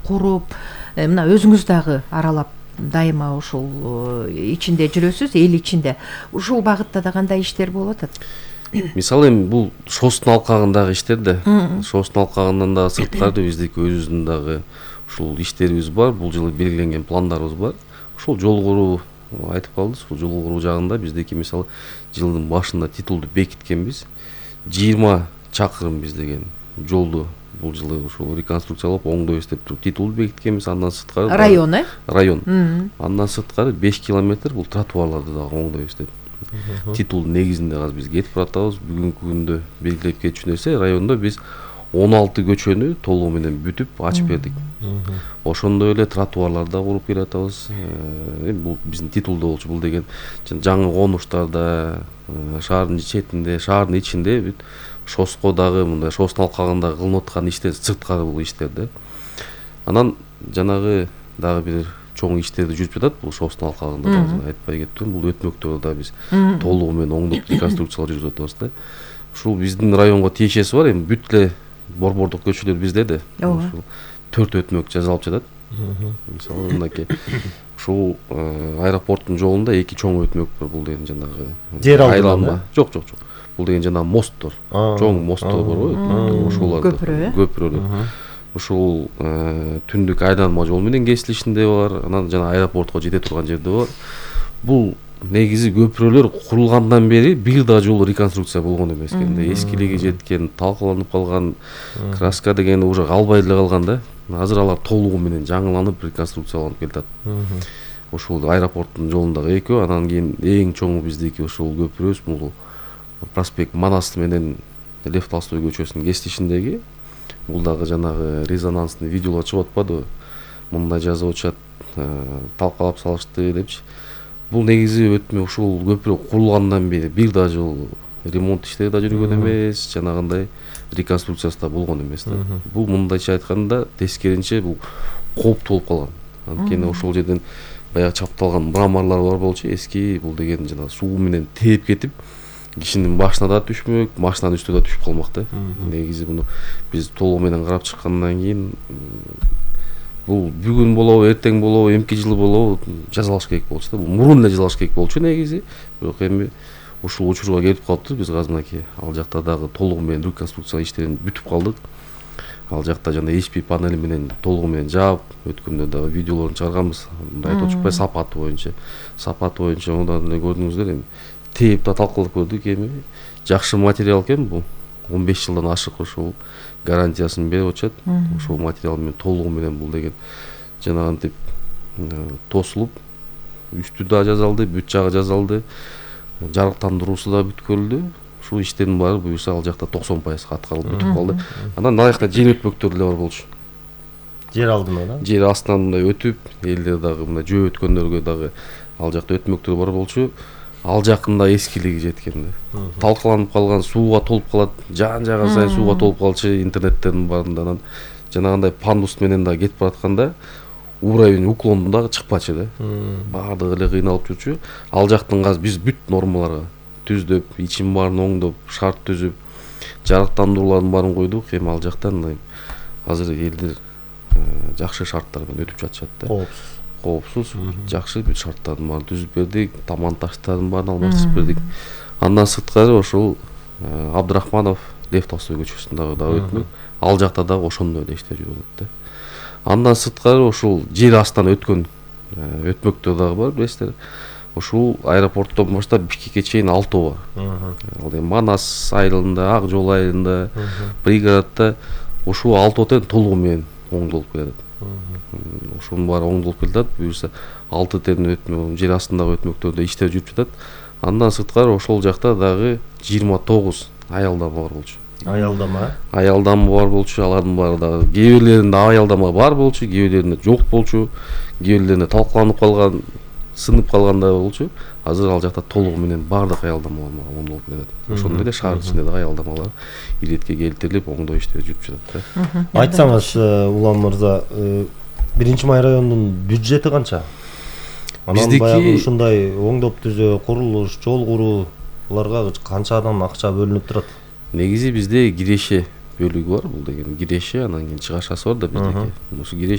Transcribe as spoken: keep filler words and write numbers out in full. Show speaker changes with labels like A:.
A: куруп, мына өзүңүз дагы аралап дайыма ушул ичинде жүрөсүз, эл ичинде. Ушул багытта да кандай иштер болуп атат?
B: Мисалы эми бул ШОСтун алкагындагы иштер да. ШОСтун алкагынан дагы сырткары биздики өзүбүздүн дагы ушул иштерибиз бар. Бул жылы белгиленген пландарыбыз бар. Ушул жол куруу айтып калдыңыз. Ушул жол куруу жагында биздики мисалы жылдын башында титулду бекиткенбиз. жыйырма чакырым биз деген жолду бул жылы ушул реконструкциялап оңдойбуз деп туруп титулду бекиткенбиз. Андан сырткары
A: район, э?
B: Район. Андан сырткары беш километр бул тротуарларды дагы оңдойбуз деп титулдун негизинде азыр биз кетип баратабыз. Бүгүнкү күндө белгилеп кетчү нерсе, райондо биз он алты көчөнү толугу менен бүтүп ачып бердик. Ошондой эле тротуарларды да куруп келатабыз. Эми бул биздин титулда болчу. Бул деген жаңы конуштарда, шаардын четинде, шаардын ичинде бүт ШОСко дагы мындай ШОСтун алкагында кылынып аткан иштер сырткары бул иштер да. Анан жанагы дагы бир чоң иштерди жүрүп жатат бул ШОСтун алкагында да, айтпай кеттим. Бул өтмөктөрдү да биз толугу менен оңдоп реконструкциялап жүрүп атабыз да. Ушул биздин районго тиешеси бар. Эми бүт эле борбордук көчөлөр бизде да. Ушул төрт өтмөк жазалып жатат. Мисалы мынакей ушул аэропорттун жолунда эки чоң өтмөк бар. Бул деген жанагы
C: жер алды.
B: Жок, жок, жок. Бул деген жанагы мосттор. Чоң мосттор бар го. Ошолор
A: көпүрө.
B: Көпүрөлөр. Ушул түндүк айланма жол менен кесилишинде бар. Анан жана аэропортко жете турган жерде бар. Бул негизи көпүрөлөр курулгандан бери бир да жолу реконструкция болгон эмес экен да. Эскилиги жеткен, талкаланып калган, краска деген уже калбай эле калган да. Азыр алар толугу менен жаңыланып реконструкцияланып келатат. Ушул аэропорттун жолундагы экөө, анан кийин эң чоңу биздики ушул көпүрөбүз, бул проспект Манас менен Лев Толстой көчөсүнүн кесилишиндеги. Бул дагы жанагы резонансный видеолор чыгып атпадыбы? Мындай жазып атышат, талкалап салышты депчи. Бул негизи өтмө ушул көпүрө курулгандан бери бир да жолу ремонт иштери да жүргөн эмес, жанагындай реконструкциясы да болгон эмес да. Бул мындайча айтканда тескеринче бул кооптуу болуп калган. Анткени ошол жерден баягы чапталган мраморлор бар болчу, эски. Бул деген жана суу менен тээп кетип, кишинин башына да түшмөк, машинанын үстүнө да түшүп калмак да. Негизи муну биз толугу менен карап чыккандан кийин бул бүгүн болобу, эртең болобу, эмки жылы болобу жазалаш керек болчу да. Бул мурун эле жазалаш керек болчу негизи. Бирок эми ушул учурга келип калыптыр. Биз азыр мынакей ал жакта дагы толугу менен реконструкция иштерин бүтүп калдык. Ал жакта жана эйч пи панели менен толугу менен жаап, өткөндө дагы видеолорун чыгарганбыз. Мындай айтып атышпайбы, сапаты боюнча. Сапаты боюнча мындан эле көрдүңүздөр эми. Тээп да талкалап көрдүк эми. Жакшы материал экен бул. он беш жылдан ашык ушул гарантиясын берип атышат. Ушул материал менен толугу менен бул деген жанагынтип тосулуп, үстү да жазалды, бүт жагы жазалды, жарыктандыруусу да бүткөрүлдү. Ушул иштердин баары буюрса ал жакта токсон пайызга аткарылып бүтүп калды. Андан аякта жер өтмөктөр деле бар болчу.
C: Жер алдына да?
B: Жер астынан мындай өтүп, элдер дагы мындай жөө өткөндөргө дагы ал жакта өтмөктөр бар болчу. Ал жакында эскилиги жеткен да. Талкаланып калган, сууга толуп калат, жан жагы сайын сууга толуп калчу, интернеттердин баарында. Анан жанагындай пандус менен да кетип баратканда уровень уклонду дагы чыкпачу да. Баардыгы эле кыйналып жүрчү. Ал жактын азыр биз бүт нормаларга түздөп, ичин баарын оңдоп, шарт түзүп, жарыктандыруулардын баарын койдук. Эми ал жактан азыр элдер жакшы шарттар менен өтүп жатышат да.
C: Коопсуз.
B: Коопсуз, жакшы бүт шарттардын баарын түзүп бердик, таман таштардын баарын алмаштырып бердик. Андан сырткары ошол Абдрахманов Лев Толстой көчөсүндөгү дагы өтмөк. Ал жакта дагы ошондой эле иштер жүрүп атат да. Андан сырткары ошол жер астынан өткөн өтмөктөр дагы бар, билесиздер. Ушул аэропорттон баштап Бишкекке чейин алтоо бар. Ал эми Манас айылында, Ак жол айылында, пригороддо ушул алтоо тең толугу менен оңдолуп келатат. Ошонун баары оңдолуп келатат. Буюрса алты терин өтмө, жер астындагы өтмөктөрдө иштер жүрүп жатат. Андан сырткары ошол жакта дагы жыйырма тогуз аялдама бар болчу.
C: Аялдама?
B: Аялдама бар болчу. Алардын баары дагы кээ бирлеринде аялдама бар болчу, кээ бирлеринде жок болчу, кээ бирлеринде талкаланып калган, сынып калган да болчу. Азыр ал жакта толугу менен баардык аялдамалар оңдолуп келатат. Ошондой эле шаар ичинде дагы аялдамалар иретке келтирилип, оңдоо иштери жүрүп жатат да.
C: Айтсаңыз, Улан мырза, биринчи май районунун бюджети канча? Анан баягы ушундай оңдоп түзөө, курулуш, жол курууларга канчадан акча бөлүнүп турат?
B: Негизи бизде киреше бөлүгү бар. Бул деген киреше, анан кийин чыгашасы бар да биздики. Ошо киреше